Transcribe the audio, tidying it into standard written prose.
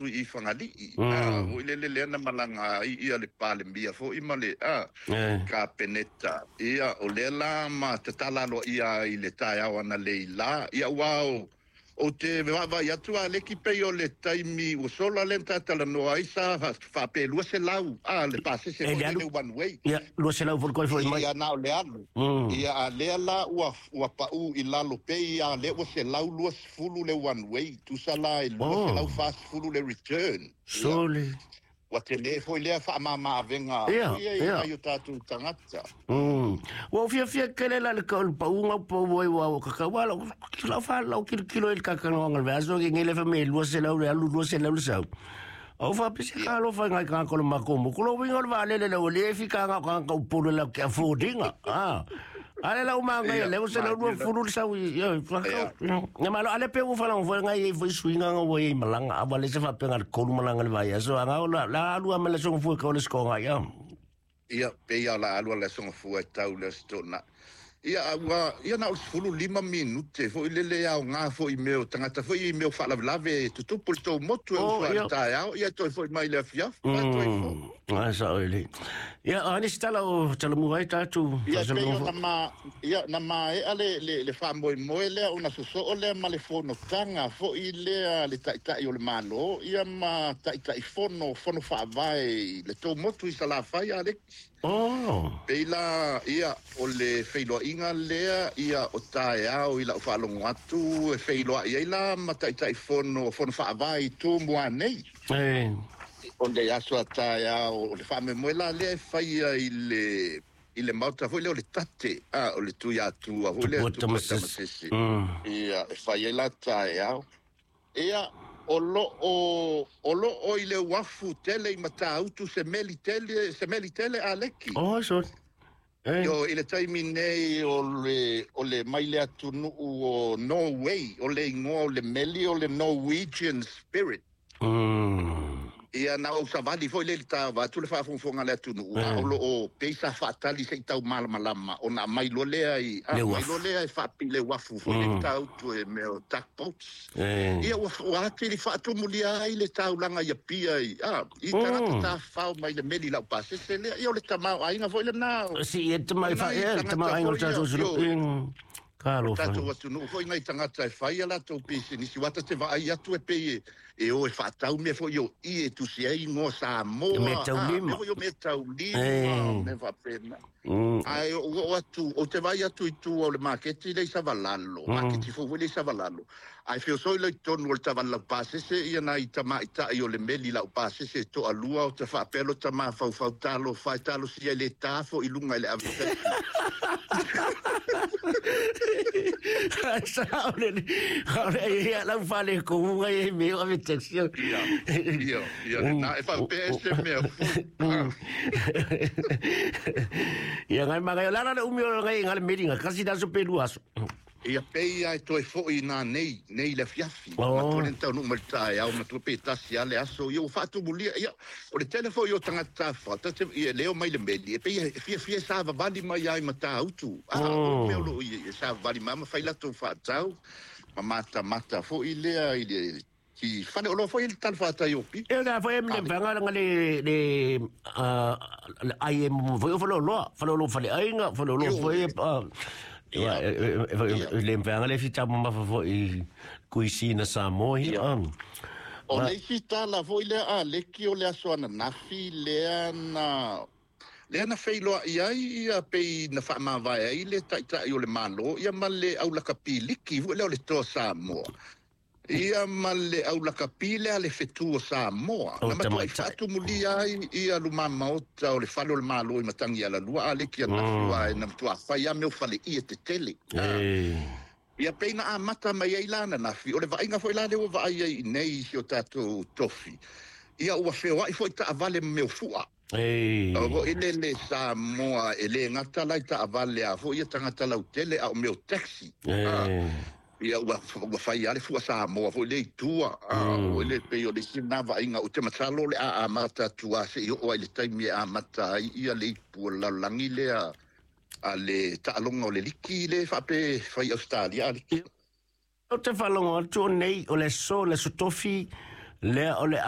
I Fagalii, foi lele lea na malaga ai ia le Palemia foi ma le Kapeneta. Ia, o lea la ma tatala aloaia ai i le taeao analeila. Ia, aua ou te vaavaai atu a leki pei o le taimi ua sola lea na ta talanoa ai sa faapea 200 le pasese foi lele one way. Ia, 200 foi le foi mai. Ia, na o le alu. Ia, a lea la ua pau i lalo pei a lea ua 120 le one way, tusa la e 240 le return. Sole. Ua tele foi lea faamama-avega ia i nai o tatou tagata. Ua ou fiafia tele la i le pauga o pau ai ua kakau a lau fa lau kilokilo i le kakanoaga o le vaiaso ke ngele fa me 200 le alu 200 le sau. Au fa pese ka alofa ngai ka ko le mako mo ko lo winga o le vaalele le o le fi ka nga ka ka upolu la ke affordinga. Ah. Ale la uma ngai le o se le 20 le sau i fa ka. Nga malo ale pe u fa la fo ngai i fo suinga nga wo i malanga a vale se fa pe nga le kolu malanga le vaiaso anga o la la alu a mele songo fu ka o le skonga ia. Ia, pei a la alu a le songo fua e tau le stona. Ia, ua, ia na o le 15 minute foi lele ao ngā foi mea o tagata foi i mea o faalavelave e tutupu le tou motu e uso ai le taeao, ia toe foi mai le afiafi, a toe foi. Ai sa oi. Ia, a ni se tala o talamua ai tatou. Ia, pei o na ma, ia, na maea le faamoemoe lea ona sosoo lea ma le fonotaga foi lea le taitai o le Malo, ia ma taitai fono, fono faavae i le tou motu i Salafai a Aleki. Pei la, ia, o le feiloaiga lea, ia, o taeao i lau faalogo atu, e feiloai ai la ma taitai fono, fono faavae i Tumua nei. O le aso a taeao, o le faamoemoe la lea e faia i le maota foi lea o le tate, o le Tuiatua foi lea Tupua Tamasese. Ia, e fai ai la taeao. Ia, o lo o i le uafu tele i Matautu se meli tele, se meli tele a leki. Oh, sorry. Yo, i le taimi nei o le mai le atunuu o Norway, o le igoa o le meli o le Norwegian Spirit. Ia, na ou savali foi le ta atu le faafogafoga le atunuu, a o lo o pei sa faatali se i tau malamalama ona mai loa lea i Le mai uafu. Loa lea e faapi le uafu foi le Matautu e mea o tugboats. Ia, ua atili faatumulia ai le taulaga i Apia i tagata tafafao mai le meli lau pasese lea. Ia, o le tamaoaiga foi lena Si e te mai fa nai e te tagata mai ngol foi ia, tatou sulu. yo, Ka alofa. Tatou atunuu foi nai tagata e fai a latou pisinisi ua ta te vaai atu e pei e o e faatau mea foi o i e tusi ai igoa Samoa. Mea taulima. Mea foi o mea taulima, mea faapena. Ae ou oo atu, ou te vaai atu i tua o le maketi le i Savalalo, maketi fou foi le i Savalalo. Ae feosoi loa i totonu o le taavale laupasese ia nai tamaitai o le meli laupasese e toalua o te faapea lo tamafaufau talofa e talosia i le ta foi i luga i le ave taxi. Sa o le ia lau fale ko unga e me o ave taxi. Ia, na e faapea e se mea fou. Ia ngai magai la la umi o ngai ngai le meli nga kasi da so pelu aso. Ia pei ai toe foi nā nei, nei le afiafi. Matua le taunuu mai le taeao, matua pe tasi a le aso, ia ua faatumulia. Ia, o le tele foi o tagata tafafao, ta te, ia, leo mai le meli, e pei e fiafia savavali mai ai Matautu. O le mea o lo o ia, ia savavali mai ma fai latou faatau, ma matamata foi lea i le i fale oloa foi i le talafatai o Apia. E na foi e me vanga nga le ai e mo foi o fale oloa, fale oloa fale ainga, fale oloa foi ia le vanga le fita ma fa foi kuisina Samoa ia. O le isi tala foi lea a leki o le aso ananafi lea na feiloai ai ia pei na faamavae ai le taitai o le Malo ia ma le aulakapiliki foi lea o le Toa Samoa. Ia ma le aulakapi lea le fetu o Samoa. O Na matuai tamaitai. Faatumulia ai ia luma maota o le fale o le Malo i Matagi Alalua a leki ananafi wa e na matua fai a mea o fale ia tetele. Ia pei na amata mai ai la ananafi, o le vaaiga foi la lea ua vaai ai i nei i si o tatou tofi. Ia ua feoai foi taavale ma mea o fua. O foi le le Samoa e le gata lai taavale a foi ia tagata lautele a o mea o taxi. Ia ua fai a le fua Samoa foi le i tua. O le pei o le isi na vaaiga ou te masalo le a amata atu a se i oo ai le taimi e amata ai ia le ipu o le lalolagi lea a le taaloga o le liki le faape fai Australia a liki. O te faalogo atu o nei o le aso tofi. Lea o le